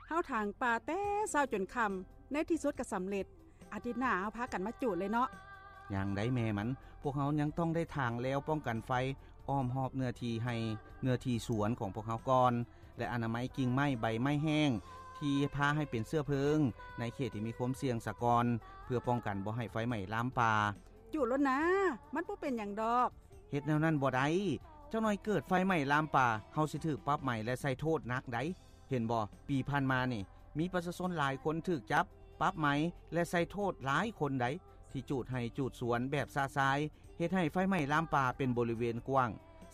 ເຮົາຖາງປ່າແຕ່ເຊົ້າຈົນຄ່ຳ, ໃນທີ່ສຸດກໍສຳເລັດ. ອາທິດໜ້າເຮົາພາກັນມາຈູດເລີຍເນາະ. ຍັງໃດແມ່ມັນ, ພວກເຮົາຍັງຕ້ອງໄດ້ຖາງແລວປ້ອງກັນໄຟອ້ອມຮອບເນື້ອທີ່ໄຮ່, ເນື້ອທີ່ສວນຂອງພວກເຮົາກ່ອນ ແລະ ອະນາໄມກິ່ງໄມ້, ໃບໄມ້ແຫ້ງທີ່ພາໃຫ້ເປັນເຊື້ອເພີງໃນເຂດທີ່ມີຄວາມສ່ຽງສາກ່ອນ, ເພື່ອປ້ອງກັນບໍ່ໃຫ້ໄຟໄໝ້ລາມປ່າ. ຈູດໂລດນາ, ມັນບໍ່ເປັນຫຍັງດອກ. ເຮັດແນວນັ້ນບໍ່ໄດ້. ຈັກໜ້ອຍເກີດໄຟໄໝ້ລາມປ່າ, ເຮົາຊິຖືກປັບໃໝ ແລະ ໃສ່ໂທດໜັກໃດ. ເຫັນບໍ່, ປີຜ່ານມານີ້ ມີປະຊາຊົນຫຼາຍຄົນຖືກຈັບ, ປັບໃໝ ແລະ ໃສ່ໂທດຫຼາຍຄົນໃດ ທີ່ຈູດໄຮ່ຈູດສວນແບບຊະຊາຍ, ເຮັດໃຫ້ໄຟໄໝ້ລາມປ່າເປັນບໍລິເວນກວ້າງ,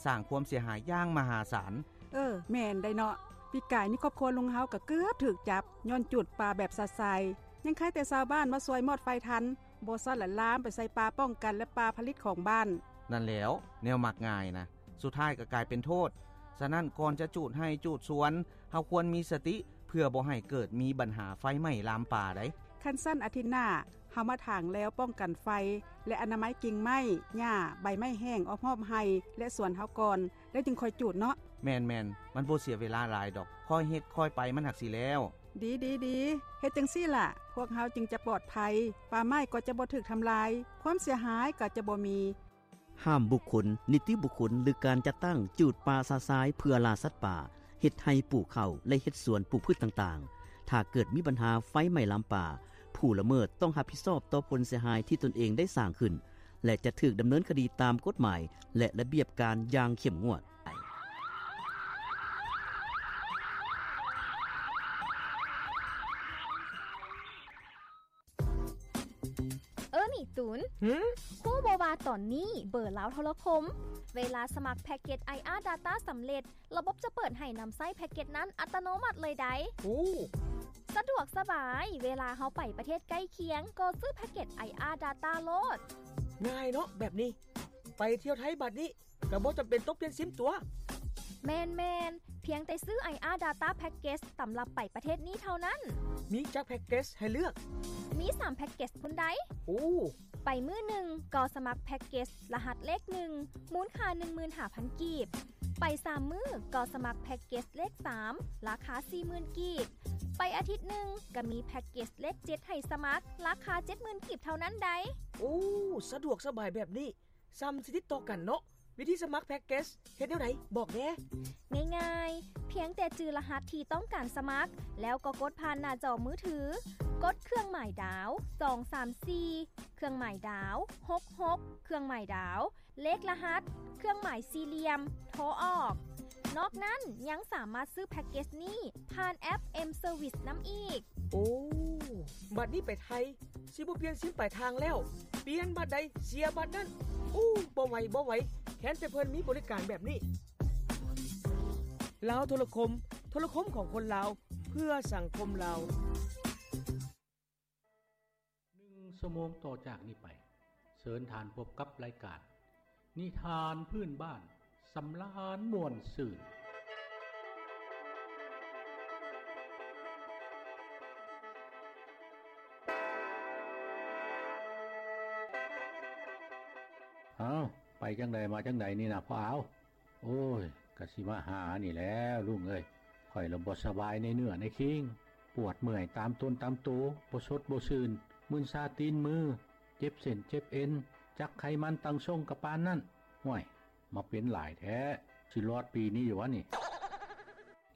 ສ້າງຄວາມເສຍຫາຍຢ່າງມະຫາສານ. ເອີ, ແມ່ນໄດ໋ເນາະ. ປີກາຍນີ້ຄອບຄົວລຸງເຮົາກໍເກືອບຖືກຈັບ ຍ້ອນຈູດປ່າແບບຊະຊາຍ. ຍັງໄຄແຕ່ຊາວບ້ານມາຊ່ວຍມອດໄຟທັນ, ບໍ່ຊັ້ນລະລາມໄປໃສ່ປ່າປ້ອງກັນ ແລະ ປ່າຜະລິດຂອງບ້ານ. ນັ້ນແຫຼ້ວ, ແນວມັກງ່າຍນະ ສຸດທ້າຍກໍກາຍເປັນໂທດ. ສະນັ້ນ, ກ່ອນຈະຈູດໄຮ່ຈູດສວນ, ເຮົາຄວນມີສະຕິ ເພື່ອບໍ່ໃຫ້ເກີດມີບັນຫາໄຟໄໝ້ລາມປ່າໃດ໋. ຄັນຊັ້ນ, ອາທິດໜ້າເຮົາມາຖາງແລວປ້ອງກັນໄຟ ແລະ ອະນາໄມກິ່ງໄມ້, ຫຍ້າ, ໃບໄມ້ແຫ້ງອ້ອມຮອບໄຮ່ ແລະ ສວນເຮົາກ່ອນ, ແລ້ວຈຶ່ງຄ່ອຍຈູດເນາະ. ແມ່ນໆ, ມັນບໍ່ເສຍເວລາຫຼາຍດອກ, ຄ່ອຍເຮັດຄ່ອຍໄປມັນຫາກຊິແລ້ວ. ດີໆໆ, ເຮັດຈັ່ງຊີ້ລະ ພວກເຮົາຈຶ່ງຈະປອດໄພ, ປ່າໄມ້ກໍຈະບໍ່ຖືກທຳລາຍ, ຄວາມເສຍຫາຍກໍຈະບໍ່ມີ. ຫ້າມບຸກຄົນ, ນິຕິບຸກຄົນ ຫຼື ການຈັດຕັ້ງຈູດປ່າຊະຊາຍເພື່ອລ່າສັດປ່າ, ເຮັດໄຮ່ປູກເຂົ້າ ແລະ ເຮັດສວນປູກພືດຕ່າງໆ. ຖ້າເກີດມີບັນຫາໄຟໄໝ້ລາມປ່າ, ຜູ້ລະເມີດຕ້ອງຮັບຜິດຊອບຕໍ່ຜົນເສຍຫາຍທີ່ຕົນເອງໄດ້ສ້າງຂຶ້ນ ແລະ ຈະຖືກດຳເນີນຄະດີຕາມກົດໝາຍ ແລະ ລະບຽບການຢ່າງເຂັ້ມງວດ. ເອີ ນີ້ຕູນ ຫື? ຮູ້ບໍ່ວ່າຕອນນີ້ເບີລາວໂທລະຄົມ ເວລາສະໝັກແພັກເກັດ ໄອອາ Data ສຳເລັດ, ລະບົບຈະເປີດໃຫ້ນຳໃຊ້ແພັກເກັດນັ້ນອັດຕະໂນມັດເລີຍໃດ. ໂອ້ ສະດວກສະບາຍ, ເວລາເຮົາໄປປະເທດໃກ້ຄຽງ ກໍຊື້ແພັກເກັດ ໄອອາ Data ໂລດ. ງ່າຍເນາະແບບນີ້, ໄປທ່ຽວໄທບາດນີ້ ກໍບໍ່ຈຳເປັນຕ້ອງປ່ຽນຊິມຕົວະ. ແມ່ນໆ, ພຽງແຕ່ຊື້ ໄອອາ Data Package ສຳລັບໄປປະເທດນີ້ເທົ່ານັ້ນ. ມີຈັກແພັກເກັດໃຫ້ເລືອກ? ມີສາມແພັກເກັດພຸ້ນໃດ. ໂອ້ ໄປມື້ໜຶ່ງກໍສະໝັກແພັກເກັດລະຫັດເລກໜຶ່ງ ມູນຄ່າໜຶ່ງໝື່ນຫ້າພັນກີບ. ໄປສາມມື້ກໍສະໝັກແພັກເກັດເລກສາມ ລາຄາສີ່ໝື່ນກີບ. ໄປອາທິດໜຶ່ງກໍມີແພັກເກັດເລກເຈັດໃຫ້ສະໝັກ ລາຄາເຈັດໝື່ນກີບເທົ່ານັ້ນໃດ. ໂອ້ ສະດວກສະບາຍແບບນີ້. ສ່ຳຊິຕິດຕໍ່ກັນເນາະ. ວິທີສະໝັກແພັກເກັດເຮັດແນວໃດ? ບອກແດ່. ງ່າຍໆ, ພຽງແຕ່ຈື່ລະຫັດທີ່ຕ້ອງການສະໝັກ, ແລ້ວກໍກົດຜ່ານໜ້າຈໍມືຖື, ກົດເຄື່ອງໝາຍດາວ ສອງສາມສີ່, ເຄື່ອງໝາຍດາວ ຫົກຫົກ, ເຄື່ອງໝາຍດາວ ເລກລະຫັດ, ເຄື່ອງໝາຍສີ່ຫຼ່ຽມ, ໂທອອກ. ນອກນັ້ນຍັງສາມາດຊື້ແພັກເກັດນີ້ຜ່ານແອັບ M-Service ນຳອີກ. ໂອ້ ບັດນີ້ໄປໄທ ຊິບໍ່ປ່ຽນຊິມປາຍທາງແລ້ວ, ປ່ຽນບັດໃດເສຍບັດນັ້ນ. ໂອ້ ບໍ່ໄຫວ ບໍ່ໄຫວ, ແຄ້ນແຕ່ເພິ່ນມີບໍລິການແບບນີ້. ລາວໂທລະຄົມ, ໂທລະຄົມຂອງຄົນລາວ ເພື່ອສັງຄົມລາວ. ໜຶ່ງຊົ່ວໂມງຕໍ່ຈາກນີ້ໄປ, ເຊີນທ່ານພົບກັບລາຍການ ນິທານພື້ນບ້ານ ສຳລານມ່ວນຊື່ນ. ອ້າວ ໄປຈັ່ງໃດມາຈັ່ງໃດນີ້ນະພໍ່ອາວ? ໂອ້ຍ ກະຊິມາຫານີ້ແຫຼະລຸງເອີຍ, ຂ້ອຍລະບໍ່ສະບາຍໃນເນື້ອໃນຄີງ, ປວດເມື່ອຍຕາມຕົນຕາມໂຕ, ບໍ່ສົດບໍ່ຊື່ນ, ມຶນຊາຕີນມື, ເຈັບເສັ້ນເຈັບເອັນ, ຈັກໄຂມັນຕັ້ງຊົງກະປານນັ້ນ. ຫ້ວຍ ມາເປັນຫຼາຍແທ້, ຊິລອດປີນີ້ຢູ່ຫວານີ້?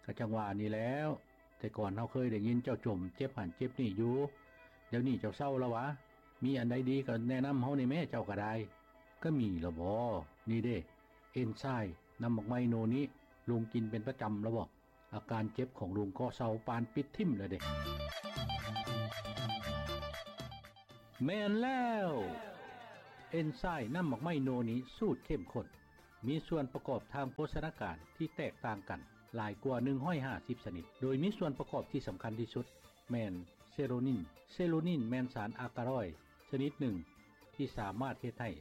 ກະຈັ່ງວ່ານີ້ແຫຼ້ວ, ແຕ່ກ່ອນເຮົາເຄີຍໄດ້ຍິນເຈົ້າຈົ່ມເຈັບຫັ້ນເຈັບນີ້ຢູ່, ດຽວນີ້ເຈົ້າເຊົາລະຫວາ? ມີອັນໃດດີກະແນະນຳເຮົາແດ່ແມ້, ເຈົ້າກະໄດ້. ກະມີລະບໍ? ນີ້ເດ້, ເອັນໄຊນ້ຳໝາກໄມ້ໂນນິ, ລຸງກິນເປັນປະຈຳລະບໍ? ອາການເຈັບຂອງລຸງກໍເຊົາປານປິດຖິ້ມແລ້ວເດ້. ແມ່ນແລ້ວ! ເອັນໄຊນ້ຳໝາກໄມ້ໂນນິສູດເຂັ້ມຂຸ້ນ ມີສ່ວນປະກອບທາງໂພຊະນາການທີ່ແຕກຕ່າງກັນຫຼາຍກວ່າໜຶ່ງຮ້ອຍຫ້າສິບຊະນິດ, ໂດຍມີສ່ວນປະກອບທີ່ສຳຄັນທີ່ສຸດແມ່ນເຊໂຣນິນ. ເຊໂຣນິນແມ່ນສານອາກາຣອຍຊະນິດໜຶ່ງທີ່ສາມາດເຮັດໃຫ້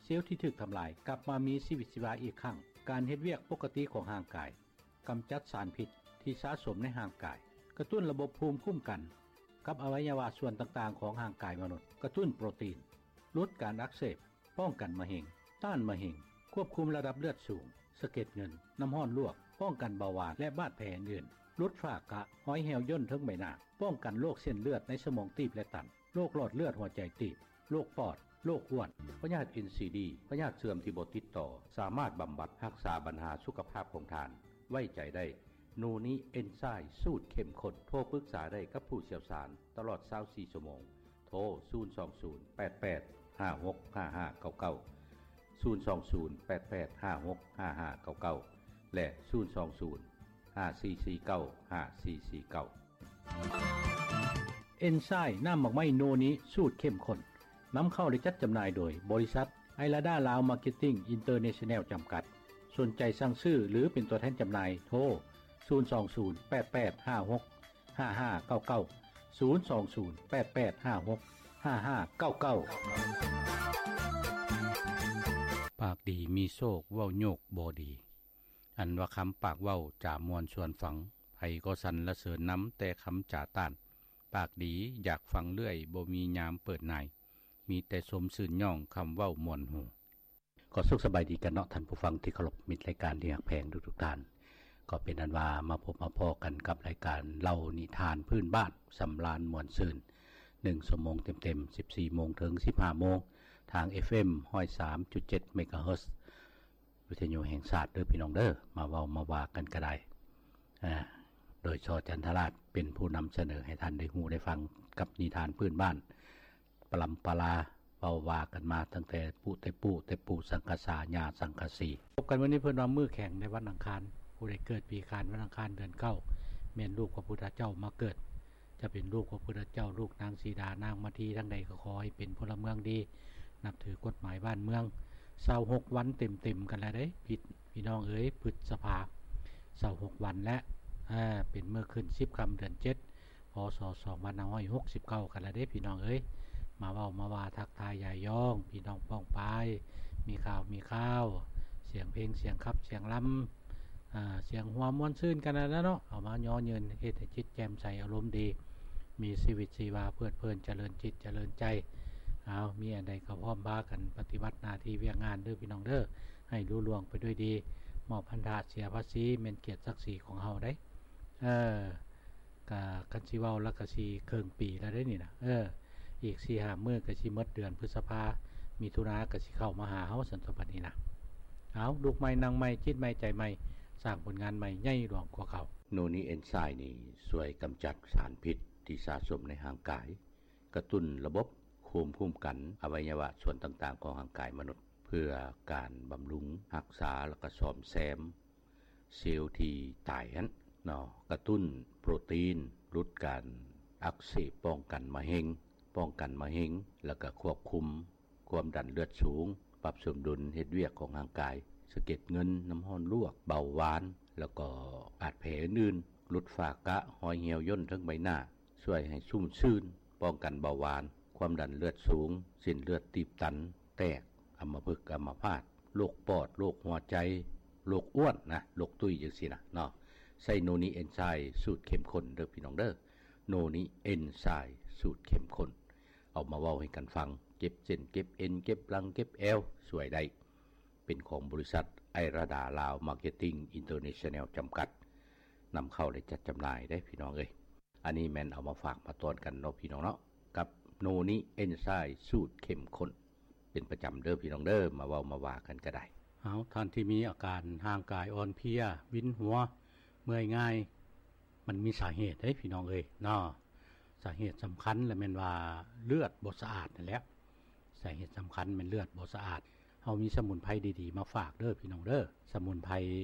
ເຊວທີ່ຖືກທຳລາຍກັບມາມີຊີວິດຊີວາອີກຄັ້ງ. ການເຮັດວຽກປົກກະຕິຂອງຮ່າງກາຍ, ກຳຈັດສານພິດທີ່ສະສົມໃນຮ່າງກາຍ, ກະຕຸ້ນລະບົບພູມຄຸ້ມກັນກັບອະໄວຍະວະສ່ວນຕ່າງໆຂອງຮ່າງກາຍມະນຸດ, ກະຕຸ້ນໂປຣຕີນ, ຫຼຸດການອັກເສບ, ປ້ອງກັນມະເຮັງ, ຕ້ານມະເຮັງ, ຄວບຄຸມລະດັບເລືອດສູງ, ສະເກັດເງິນ, ນ້ຳຮ້ອນລວກ, ປ້ອງກັນເບົາຫວານ ແລະ ບາດແຜອື່ນໆ, ຫຼຸດຝ້າກະ, ຮອຍຫ່ຽວຍ່ນເທິງໃບໜ້າ, ປ້ອງກັນໂລກເສັ້ນເລືອດໃນສະໝອງຕີບ ແລະ ຕັນ, ໂລກຫຼອດເລືອດຫົວໃຈຕີບ, ໂລກປອດ, ໂລກອ້ວນ, ພະຍາດ ເອັນ ຊີ ດີ, ພະຍາດເຊື່ອມທີ່ບໍ່ຕິດຕໍ່, ສາມາດບຳບັດຮັກສາບັນຫາສຸຂະພາບຂອງທ່ານ. ໄວ້ໃຈໄດ້ ໂນນິເອັນໄຊລ໌ສູດເຂັ້ມຂຸ້ນ. ໂທປຶກສາໄດ້ກັບຜູ້ຊ່ຽວຊານຕະຫຼອດຊາວສີ່ຊົ່ວໂມງ. ໂທ ສູນສອງສູນ ແປດແປດ ຫ້າຫົກ ຫ້າຫ້າເກົ້າເກົ້າ, ສູນສອງສູນ ແປດແປດ ຫ້າຫົກ ຫ້າຫ້າເກົ້າເກົ້າ ແລະ ສູນສອງສູນ ຫ້າສີ່ສີ່ເກົ້າ ຫ້າສີ່ສີ່ເກົ້າ. ເອັນໄຊລ໌ນ້ຳໝາກໄມ້ໂນນິສູດເຂັ້ມຂຸ້ນ ນຳເຂົ້າ ແລະ ຈັດຈຳໜ່າຍໂດຍບໍລິສັດ ໄອລາດາລາວມາເກັດຕິ້ງອິນເຕີເນຊັນແນວຈຳກັດ. ສົນໃຈສັ່ງຊື້ ຫຼື ເປັນຕົວແທນຈຳໜ່າຍ ໂທ ສູນສອງສູນ ແປດແປດ ຫ້າຫົກ ຫ້າຫ້າເກົ້າເກົ້າ, ສູນສອງສູນ ແປດແປດ ຫ້າຫົກ ຫ້າຫ້າເກົ້າເກົ້າ. ປາກດີມີໂຊກ ເວົ້າໂຍກບໍ່ດີ. ອັນວ່າຄຳປາກເວົ້າຈາມ່ວນຊວນຟັງ, ໃຜກໍສັນລະເສີນນຳແຕ່ຄຳຈາຕ້ານ. ປາກດີຢາກຟັງເລື້ອຍ ບໍ່ມີຍາມເປີດນາຍ, ມີແຕ່ຊົມຊື່ນຍ້ອງຄຳເວົ້າມ່ວນຫູ. ກໍສຸກສະບາຍດີກັນເນາະ ທ່ານຜູ້ຟັງທີ່ເຄົາລົບ, ມິດລາຍການທີ່ຮັກແພງທຸກໆທ່ານ. ກໍເປັນອັນວ່າມາພົບມາພໍ້ກັນກັບລາຍການເລົ່ານິທານພື້ນບ້ານ ສຳລານມ່ວນຊື່ນ ໜຶ່ງຊົ່ວໂມງເຕັມໆ ສິບສີ່ໂມງເຖິງສິບຫ້າໂມງ ທາງ ເອັຟເອັມ ຮ້ອຍສາມຈຸດເຈັດ ເມກາເຮີດ ວິທະຍຸແຫ່ງຊາດເດີພີ່ນ້ອງເດີ. ມາເວົ້າມາວ່າກັນກໍໄດ້ ອາ ໂດຍ ຊ ຈັນທະລາດ ເປັນຜູ້ນຳສະເໜີໃຫ້ທ່ານໄດ້ຮູ້ໄດ້ຟັງກັບນິທານພື້ນບ້ານ ປະລຳປະລາ ເວົ້າວ່າກັນມາຕັ້ງແຕ່ປູ່ແຕ່ປູ່ ແຕ່ປູ່ສັງກະສາ ຍ່າສັງກະສີ. ພົບກັນມື້ນີ້ເພິ່ນວ່າມື້ແຂງໃນວັນອັງຄານ, ຜູ້ໃດເກີດປີຂານວັນອັງຄານເດືອນເກົ້າ ແມ່ນລູກພະພຸດທະເຈົ້າມາເກີດ. ຈະເປັນລູກພະພຸດທະເຈົ້າ, ລູກນາງສີດາ, ນາງມາທີ, ທາງໃດກໍຂໍໃຫ້ເປັນພົນລະເມືອງດີ, ນັບຖືກົດໝາຍບ້ານເມືອງ. ຊາວຫົກວັນເຕັມໆກັນແລ້ວເດ້ ພີ່ນ້ອງເອີຍ, ພຶດສະພາ ຊາວຫົກວັນແລ້ວ, ເປັນມື້ຂຶ້ນສິບຄ່ຳເດືອນເຈັດ ພ.ສ. ສອງພັນຫ້າຮ້ອຍຫົກສິບເກົ້າກັນແລ້ວເດ້ພີ່ນ້ອງເອີຍ. ມາເວົ້າມາວ່າທັກທາຍຢາຍຢອງ ພີ່ນ້ອງປ້ອງປາຍ, ມີຂ່າວມີຄາວ, ສຽງເພງ, ສຽງຂັບ, ສຽງລຳ, ອາ, ສຽງຫົວມ່ວນຊື່ນກັນນັ້ນແຫຼະເນາະ. ເອົາມາຍໍຍືນເຮັດໃຫ້ຈິດແຈ່ມໃສ, ອາລົມດີ, ມີຊີວິດຊີວາ, ເພີດເພີນ, ຈະເລີນຈິດ, ຈະເລີນໃຈ. ເອົາ, ມີອັນໃດກໍພ້ອມພາກັນປະຕິບັດໜ້າທີ່ວຽກງານເດີພີ່ນ້ອງເດີ, ໃຫ້ລຸລ່ວງໄປດ້ວຍດີ. ມອບພັນທະເສຍພາສີ ແມ່ນກຽດສັກສີຂອງເຮົາເດ້. ເອີ ກະຄັນຊິເວົ້າລະກະຊິເຄິ່ງປີແລ້ວເດ້ນີ້ນະ. ເອີ ອີກສີ່ຫ້າມື້ກະຊິໝົດເດືອນພຶດສະພາ, ມິຖຸນາກະຊິເຂົ້າມາຫາເຮົາຊັ້ນຕົວະບັດນີ້ນະ. ເອົາ, ລຸກໃໝ່, ນັ່ງໃໝ່, ຈິດໃໝ່, ໃຈໃໝ່, ສ້າງຜົນງານໃໝ່ໃຫຍ່ຫຼວງກວ່າເກົ່າ. ໂນນິເອັນໄຊລ໌ນີ້ຊ່ວຍກຳຈັດສານພິດທີ່ສະສົມໃນຮ່າງກາຍ, ກະຕຸ້ນລະບົບພູມຄຸ້ມກັນອະໄວຍະວະສ່ວນຕ່າງໆຂອງຮ່າງກາຍມະນຸດ ເພື່ອການບຳລຸງຮັກສາ ແລະ ກະສ້ອມແຊມ ເຊວທີ່ຕາຍຫັ້ນເນາະ, ກະຕຸ້ນໂປຣຕີນ, ຫຼຸດການອັກເສບ, ປ້ອງກັນມະເຮັງ, ປ້ອງກັນມະເຮັງ, ແລ້ວກະຄວບຄຸມຄວາມດັນເລືອດສູງ, ປັບສົມດຸນເຮັດວຽກຂອງຮ່າງກາຍ, ສະເກັດເງິນ, ນ້ຳຮ້ອນລວກ, ເບົາຫວານ, ແລ້ວກໍບາດແຜອື່ນໆ, ຫຼຸດຝ້າກະ, ຮອຍຫ່ຽວຍ່ນເທິງໃບໜ້າ, ຊ່ວຍໃຫ້ຊຸ່ມຊື່ນ, ປ້ອງກັນເບົາຫວານ, ຄວາມດັນເລືອດສູງ, ເສັ້ນເລືອດຕີບຕັນ, ແຕກ, ອຳມະພຶກ, ອຳມະພາດ, ໂລກປອດ, ໂລກຫົວໃຈ, ໂລກອ້ວນນະ, ໂລກຕຸ້ຍ ຈັ່ງຊີ້ນະເນາະ. ໃຊ້ໂນນິເອັນໄຊລ໌ສູດເຂັ້ມຂຸ້ນເດີພີ່ນ້ອງເດີ. ໂນນິເອັນໄຊລ໌ສູດເຂັ້ມຂຸ້ນ ເອົາມາເວົ້າໃຫ້ກັນຟັງ, ເຈັບເສັ້ນເຈັບເອັນ, ເຈັບຫຼັງເຈັບແອວ, ຊ່ວຍໄດ້. ເປັນຂອງບໍລິສັດ ໄອລາດາລາວມາເກັດຕິ້ງອິນເຕີເນຊັນແນວຈຳກັດ ນຳເຂົ້າ ແລະ ຈັດຈຳໜ່າຍເດ້ພີ່ນ້ອງເອີຍ. ອັນນີ້ແມ່ນເອົາມາຝາກມາຕ້ອນກັນເນາະພີ່ນ້ອງເນາະ, ກັບໂນນິເອັນໄຊລ໌ສູດເຂັ້ມຂຸ້ນ ເປັນປະຈຳເດີພີ່ນ້ອງເດີ, ມາເວົ້າມາວ່າກັນກໍໄດ້. ເອົາ, ທ່ານທີ່ມີອາການຮ່າງກາຍອ່ອນເພຍ, ວິນຫົວ, ເມື່ອຍງ່າຍ, ມັນມີສາເຫດເດ້ພີ່ນ້ອງເອີຍເນາະ. ສາເຫດສຳຄັນລະແມ່ນວ່າເລືອດບໍ່ສະອາດນັ້ນແຫຼະ. ສາເຫດສຳຄັນແມ່ນເລືອດບໍ່ສະອາດ. ເຮົາມີສະໝຸນໄພດີໆມາຝາກເດີພີ່ນ້ອງເດີ. ສະໝຸນໄພ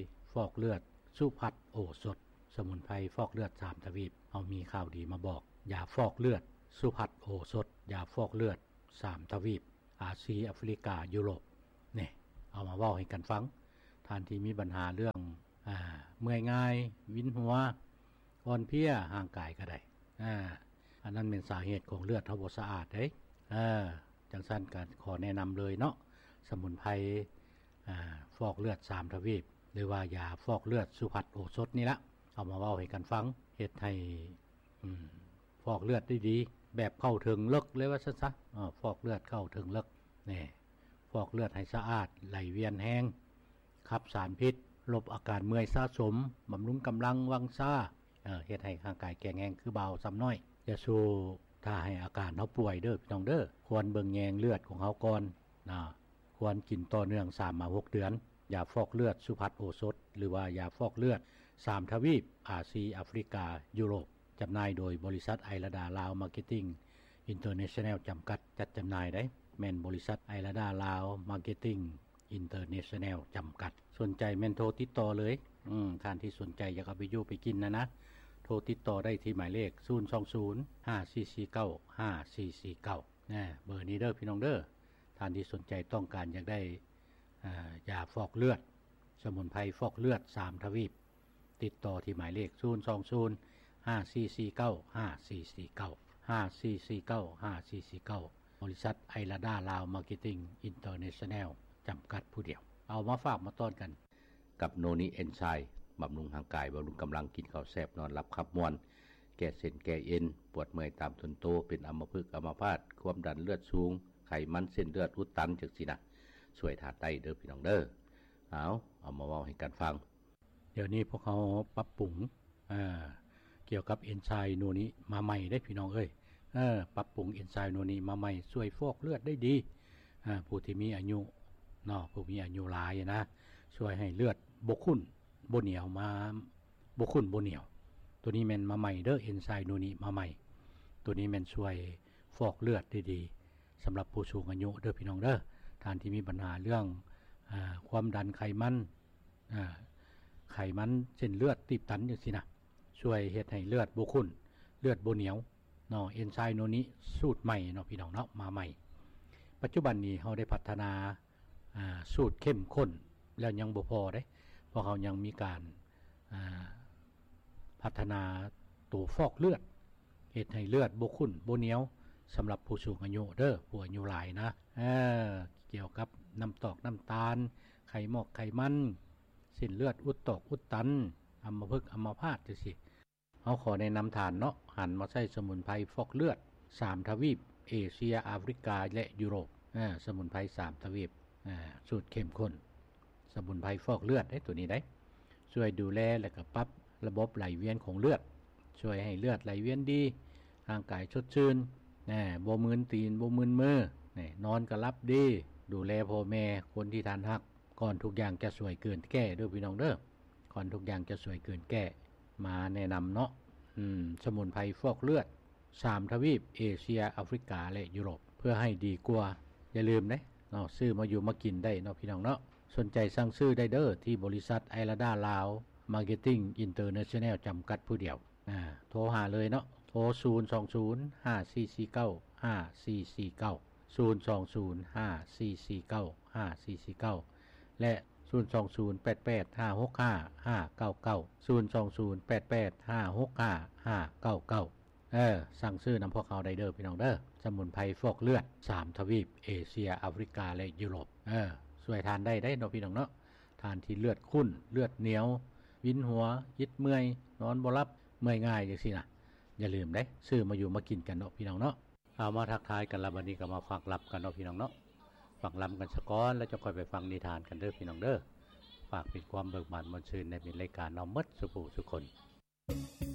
ຟອກເລືອດສຸພັດໂອສົດ, ສະໝຸນໄພຟອກເລືອດສາມທະວີບ. ເຮົາມີຂ່າວດີມາບອກ, ຢາຟອກເລືອດສຸພັດໂອສົດ, ຢາຟອກເລືອດສາມທະວີບ, ອາຊີ, ອາຟຣິກາ, ຢູໂຣບ. ນີ້ ເອົາມາເວົ້າໃຫ້ກັນຟັງ. ທ່ານທີ່ມີບັນຫາເລື່ອງ ອາ ເມື່ອຍງ່າຍ, ວິນຫົວ, ອ່ອນເພຍຮ່າງກາຍກໍໄດ້. ອາ ອັນນັ້ນແມ່ນສາເຫດຂອງເລືອດເຮົາບໍ່ສະອາດເດ້. ເອີ ຈັ່ງຊັ້ນກໍຂໍແນະນຳເລີຍເນາະ, ສະໝຸນໄພ ອາ ຟອກເລືອດສາມທະວີບ ຫຼືວ່າຢາຟອກເລືອດສຸພັດໂອສົດນີ້ລະ, ເອົາມາເວົ້າໃຫ້ກັນຟັງ, ເຮັດໃຫ້ ອືມ ຟອກເລືອດໄດ້ດີ ແບບເຂົ້າເຖິງເລິກເລີຍວ່າຊັ້ນຊະ. ເອີ ຟອກເລືອດເຂົ້າເຖິງເລິກ ນີ້ ຟອກເລືອດໃຫ້ສະອາດ, ໄຫຼວຽນແຮງ, ຂັບສານພິດ, ລົບອາການເມື່ອຍສະສົມ, ບຳລຸງກຳລັງວັງຊາ, ເຮັດໃຫ້ຮ່າງກາຍແຂງແຮງຄືບ່າວຊຳນ້ອຍ. ຢ່າສູ່ຖ້າໃຫ້ອາການເຮົາປ່ວຍເດີພີ່ນ້ອງເດີ. ຄວນເບິ່ງແຍງເລືອດຂອງເຮົາກ່ອນນະ. ຄວນກິນຕໍ່ເນື່ອງສາມມາຫົກເດືອນ. ຢາຟອກເລືອດສຸພັດໂອສົດ ຫຼືວ່າຢາຟອກເລືອດສາມທະວີບ ອາຊີ ອາຟຣິກາ ຢູໂຣບ. ຈຳໜ່າຍໂດຍບໍລິສັດໄອລາດາລາວມາເກັດຕິງອິນເຕີເນຊັນແນວຈຳກັດ ຈັດຈຳໜ່າຍໄດ໋. ແມ່ນບໍລິສັດໄອລາດາລາວມາເກັດຕິງອິນເຕີເນຊັນແນວຈຳກັດ. ສົນໃຈແມ່ນໂທຕິດຕໍ່ເລີຍ. ອືມ ທ່ານທີ່ສົນໃຈຢາກເອົາໄປຢູ່ໄປກິນນະນະ ໂທຕິດຕໍ່ໄດ້ທີ່ໝາຍເລກ ສູນສອງສູນ ຫ້າສີ່ສີ່ເກົ້າ ຫ້າສີ່ສີ່ເກົ້າ ນະ. ເບີນີ້ເດີພີ່ນ້ອງເດີ. ທ່ານທີ່ສົນໃຈຕ້ອງການຢາກໄດ້ ອາ ຢາຟອກເລືອດ, ສະໝຸນໄພຟອກເລືອດສາມທະວີບ, ຕິດຕໍ່ທີ່ໝາຍເລກ ສູນສອງສູນ ຫ້າສີ່ສີ່ເກົ້າ ຫ້າສີ່ສີ່ເກົ້າ ຫ້າສີ່ສີ່ເກົ້າ ຫ້າສີ່ສີ່ເກົ້າ ບໍລິສັດໄອລາດາລາວມາເກັດຕິງອິນເຕີເນຊັນແນວຈຳກັດຜູ້ດຽວ. ເອົາມາຝາກມາຕ້ອນກັນກັບໂນນິເອັນໄຊ ບຳລຸງຮ່າງກາຍ, ບຳລຸງກຳລັງ, ກິນເຂົ້າແຊບ, ນອນຫຼັບຂັບມ່ວນ, ແກ້ເສັ້ນແກ້ເອັນ, ປວດເມື່ອຍຕາມທົນໂຕ, ເປັນອຳມະພຶກອຳມະພາດ, ຄວາມດັນເລືອດສູງ, ໄຂມັນເສັ້ນເລືອດອຸດຕັນ ຈັ່ງຊີ້ນະ, ຊ່ວຍທານໄດ້ເດີພີ່ນ້ອງເດີ. ເອົາ ເອົາມາເວົ້າໃຫ້ກັນຟັງ. ດຽວນີ້ພວກເຮົາປັບປຸງ ເອີ ກ່ຽວກັບເອັນໄຊໂນນິມາໃໝ່ເດ້ພີ່ນ້ອງເອີຍ. ເອີ ປັບປຸງເອັນໄຊໂນນິມາໃໝ່ ຊ່ວຍຟອກເລືອດໄດ້ດີ. ອາ ຜູ້ທີ່ມີອາຍຸເນາະ, ຜູ້ມີອາຍຸຫຼາຍນະ, ຊ່ວຍໃຫ້ເລືອດບໍ່ຂຸ້ນບໍ່ໜຽວ ມາ ບໍ່ຂຸ້ນບໍ່ໜຽວ. ໂຕນີ້ແມ່ນມາໃໝ່ເດີ, ເອັນໄຊໂນນິມາໃໝ່. ໂຕນີ້ແມ່ນຊ່ວຍຟອກເລືອດໄດ້ດີ ສຳລັບຜູ້ສູງອາຍຸເດີພີ່ນ້ອງເດີ. ທ່ານທີ່ມີບັນຫາເລື່ອງ ອາ ຄວາມດັນ, ໄຂມັນ, ອາ ໄຂມັນເສັ້ນເລືອດຕີບຕັນຈັ່ງຊີ້ນະ, ຊ່ວຍເຮັດໃຫ້ເລືອດບໍ່ຂຸ້ນ, ເລືອດບໍ່ໜຽວເນາະ. ເອັນໄຊໂນນິສູດໃໝ່ເນາະພີ່ນ້ອງເນາະ, ມາໃໝ່. ປັດຈຸບັນນີ້ເຮົາໄດ້ພັດທະນາ ອາ ສູດເຂັ້ມຂຸ້ນແລ້ວຍັງບໍ່ພໍເດ້, ພວກເຮົາຍັງມີການ ອາ ພັດທະນາໂຕຟອກເລືອດ ເຮັດໃຫ້ເລືອດບໍ່ຂຸ້ນບໍ່ໜຽວ ສຳລັບຜູ້ສູງອາຍຸເດີ, ຜູ້ອາຍຸຫຼາຍນະ. ເອີ ກ່ຽວກັບນ້ຳຕອກນ້ຳຕານ, ໄຂໝອກໄຂມັນ, ເສັ້ນເລືອດອຸດຕອກອຸດຕັນ, ອຳມະພຶກອຳມະພາດຈັ່ງຊີ້. ເຮົາຂໍແນະນຳທ່ານເນາະ, ຫັນມາໃຊ້ສະໝຸນໄພຟອກເລືອດສາມທະວີບ, ເອເຊຍ, ອາຟຣິກາ ແລະ ຢູໂຣບ. ເອີ ສະໝຸນໄພສາມທະວີບ, ອາ ສູດເຂັ້ມຂຸ້ນ. ສະໝຸນໄພຟອກເລືອດເດ້ ໂຕນີ້ໄດ໋, ຊ່ວຍດູແລ ແລະກະປັບລະບົບໄຫຼວຽນຂອງເລືອດ, ຊ່ວຍໃຫ້ເລືອດໄຫຼວຽນດີ, ຮ່າງກາຍສົດຊື່ນ, ແນ່ ບໍ່ມຶນຕີນ ບໍ່ມຶນມື, ແນ່ ນອນກະຫຼັບດີ, ດູແລພໍ່ແມ່, ຄົນທີ່ທ່ານຮັກ. ກ່ອນທຸກຢ່າງຈະສວຍເກີນແກ້ເດີພີ່ນ້ອງເດີ, ກ່ອນທຸກຢ່າງຈະສວຍເກີນແກ້. ມາແນະນຳເນາະ, ອືມ ສະໝຸນໄພຟອກເລືອດ ສາມທະວີບ, ເອເຊຍ, ອາຟຣິກາ ແລະ ຢູໂຣບ ເພື່ອໃຫ້ດີກວ່າ. ຢ່າລືມເດ້ເນາະ, ຊື້ມາຢູ່ມາກິນໄດ້ເນາະພີ່ນ້ອງເນາະ. ສົນໃຈສັ່ງຊື້ໄດ້ເດີ ທີ່ບໍລິສັດໄອລາດາລາວມາເກັດຕິງອິນເຕີເນຊັນແນວຈຳກັດຜູ້ດຽວ. ອາ ໂທຫາເລີຍເນາະ, ໂທ ສູນສອງສູນ ຫ້າສີ່ສີ່ເກົ້າ ຫ້າສີ່ສີ່ເກົ້າ, ສູນສອງສູນ ຫ້າສີ່ສີ່ເກົ້າ ຫ້າສີ່ສີ່ເກົ້າ ແລະ ສູນສອງສູນ ແປດແປດ ຫ້າຫົກຫ້າ ຫ້າເກົ້າເກົ້າ, ສູນສອງສູນ ແປດແປດ ຫ້າຫົກຫ້າ ຫ້າເກົ້າເກົ້າ. ເອີ ສັ່ງຊື້ນຳພວກເຮົາໄດ້ເດີພີ່ນ້ອງເດີ, ສະໝຸນໄພຟອກເລືອດສາມທະວີບ, ເອເຊຍ, ອາຟຣິກາ ແລະ ຢູໂຣບ. ເອີ ຊ່ວຍທ່ານໄດ້ໄດ໋ເນາະພີ່ນ້ອງເນາະ, ທ່ານທີ່ເລືອດຂຸ້ນ, ເລືອດໜຽວ, ວິນຫົວ, ອິດເມື່ອຍ, ນອນບໍ່ຫຼັບ, ເມື່ອຍງ່າຍຈັ່ງຊີ້ນະ. ຢ່າລືມເດ້, ຊື້ມາຢູ່ມາກິນກັນເນາະພີ່ນ້ອງເນາະ. ເອົາ ມາທັກທາຍກັນລະ, ບັດນີ້ກໍມາຟັງລຳກັນເນາະພີ່ນ້ອງເນາະ. ຟັງລຳກັນສາກ່ອນ ແລ້ວຈັ່ງຄ່ອຍໄປຟັງນິທານກັນເດີພີ່ນ້ອງເດີ. ຝາກເປັນຄວາມເບີກບານມ່ວນຊື່ນໃນມິດລາຍການເຮົາໝົດສູ່ຜູ້ສູ່ຄົນ.